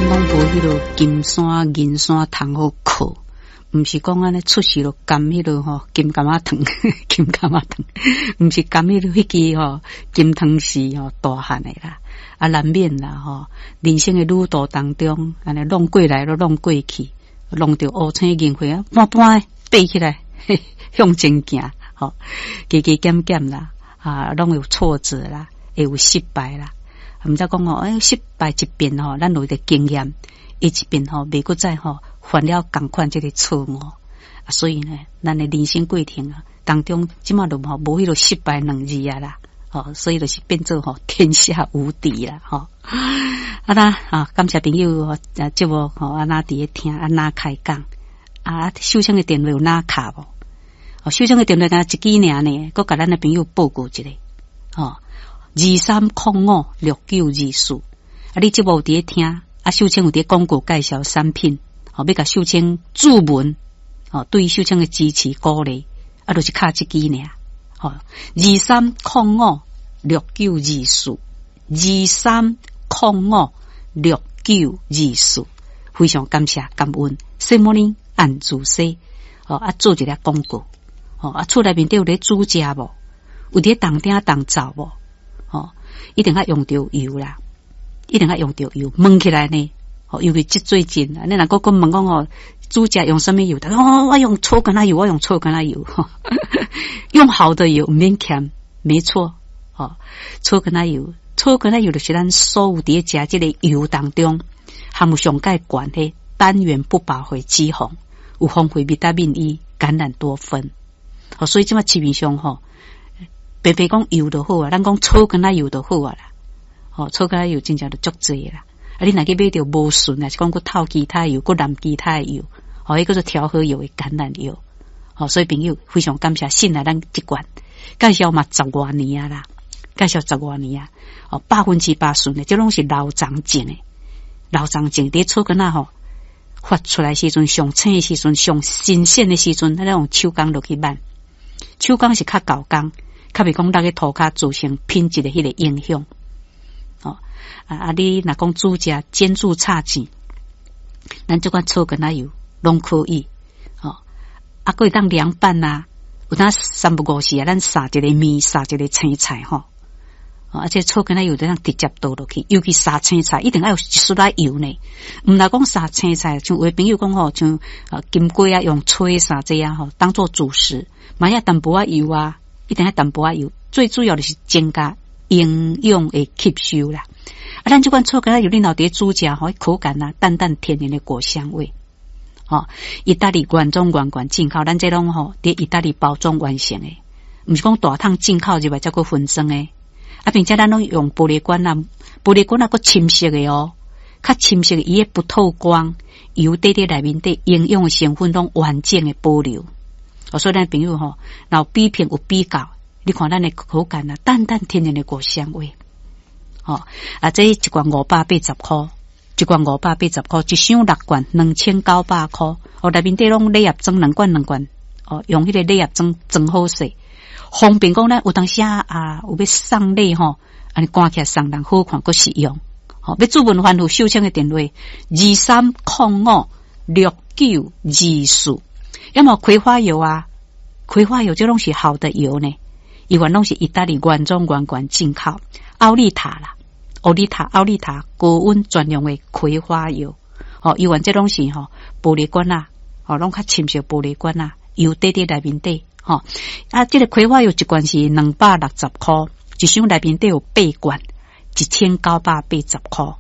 咱攏無彼个金山銀山通好靠，毋是講按呢出世就含彼个吼金柑仔糖，金柑仔糖，毋是含彼个彼支吼金湯匙吼大漢的啦，啊難免啦吼，人生的旅途當中，按呢弄過來閣弄過去，弄著烏青銀灰啊，半半爬起來向前行，吼，加加減減啦，啊，攏有挫折啦，會有失敗啦。毋知講吼，欸，失敗一遍吼，咱有一個經驗，伊一遍吼，袂閣再吼犯了仝款這个錯誤。啊，所以呢，咱的人生過程啊當中，這馬就吼無彼个失敗兩字啊啦，吼，所以就是變做吼天下無敵啦，吼。啊啦，啊，感謝朋友啊節目吼，啊哪佇咧聽，啊哪開講，啊，秀清的電話有哪敲無？哦，秀清的電話敢若一支爾呢，閣共咱的朋友報告一下，吼。23056924，啊！你節目有佇咧聽，啊，秀清有佇咧廣告介紹產品，吼，欲共秀清注文，吼，對秀清的支持鼓勵，啊，就是敲這支爾，吼，23056924，23056924，非常感謝感恩，什麼呢？按主說，吼，啊，做一个廣告，吼，啊，厝內面底有咧煮食無？有佇咧動鼎動灶無？吼，一定愛用著油啦，一定愛用著油，問起來呢，吼，尤其這最近，你若閣閣問講吼，煮食用啥物油？逐家講我用草柑仔油，我用草柑仔油，用好的油毋免儉，沒錯，吼，草柑仔油，草柑仔油就是咱所有佇咧食這个油當中，含有上蓋懸的單元不飽和脂肪，有豐富維他命 E、橄欖多酚，吼，所以這馬市面上吼。白白講油就好啊，咱講草柑仔油就好啊啦。吼，草柑仔油真正就足濟啦。啊，你若去買著無純啊，是講閣透其他油，閣淋其他的油，吼，彼叫做調和油的橄欖油。吼，所以朋友非常感謝信賴咱這罐，介紹嘛十外年啊啦，介紹十外年啊，哦，100%純的，這攏是老欉種的，老欉種佇草柑仔吼發出來時陣，上青的時陣，上新鮮的時陣，咱用手工落去挽，手工是較厚工。較袂講落去塗跤造成品質的彼个影響。哦，啊啊！你若講煮食煎煮炒煎，咱這款草柑仔油攏可以。哦，啊，閣會當涼拌啊，有當三不五時啊，咱撒一个麵，撒一个青菜吼。哦，啊，這草柑仔油就當直接倒落去，尤其撒青菜，一定愛有一絲仔油呢。毋若講撒青菜，像有的朋友講吼，像啊金瓜啊，用炊啥這樣吼，當做主食，嘛愛淡薄仔油啊。一定愛淡薄仔油，最主要就是增加營養的吸收啦。啊，咱這款草柑仔油，你若佇咧煮食吼，口感啊，淡淡天然的果香味。吼，意大利原裝原罐進口，咱這攏吼佇意大利包裝完成的，毋是講大桶進口入來才閣分裝的。啊，並且咱攏用玻璃罐啊，玻璃罐啊，閣深色的哦，較深色的，伊會不透光，油底佇內面底營養的成分攏完整的保留。哦，所以咱朋友吼，若有比拼有比較，你看咱的口感啊，淡淡天然的果香味。吼，啊，這一罐580箍，一罐五百八十箍，一箱六罐2900箍。哦，內面底攏禮盒裝兩罐兩罐，哦，用彼個禮盒裝裝好勢，方便講咱有當時啊，有欲送禮吼，按呢掛起來送人好看閣實用。吼，欲諮問番號秀清的電話23056924。要麼葵花油啊，葵花油這攏是好的油呢，伊原攏是意大利原裝原罐進口，奧利塔啦，奧利塔奧利塔高溫專用的葵花油，吼，伊原這攏是吼玻璃罐啊，吼，攏較深色玻璃罐啊，油底佇內面底，吼，啊，這个葵花油一罐是260箍，一箱內面底有八罐，1980箍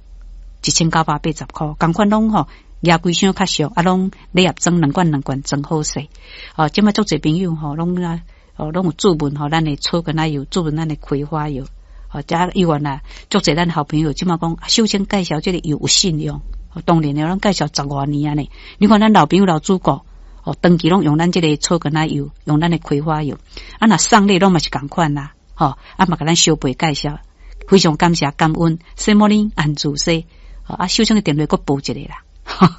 ，1980箍，仝款攏吼。舉規箱較俗，啊，攏禮盒裝兩罐兩罐裝好勢。哦，這馬足濟朋友吼，攏啊，哦，攏有注文吼，咱的草柑仔油，注文咱的葵花油。哦，遮猶原啊，足濟咱好朋友，這馬講秀清介紹這个油有信用。當然了，攏介紹十外年啊呢。你看咱老朋友老主顧，哦，長期攏用咱這个草柑仔油，用咱的葵花油。啊，若送禮攏嘛是仝款啦，吼，啊嘛共咱相陪介紹，非常感謝感恩。什麼呢？安主說，啊，秀清的電話閣報一个啦。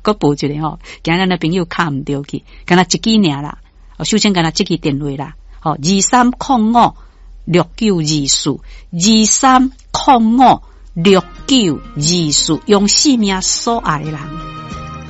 閣報一个吼，驚咱的朋友敲毋著去，敢若一支爾啦。哦，秀清敢若這支電話啦，吼，23056924，2305 6924，用性命所愛的人。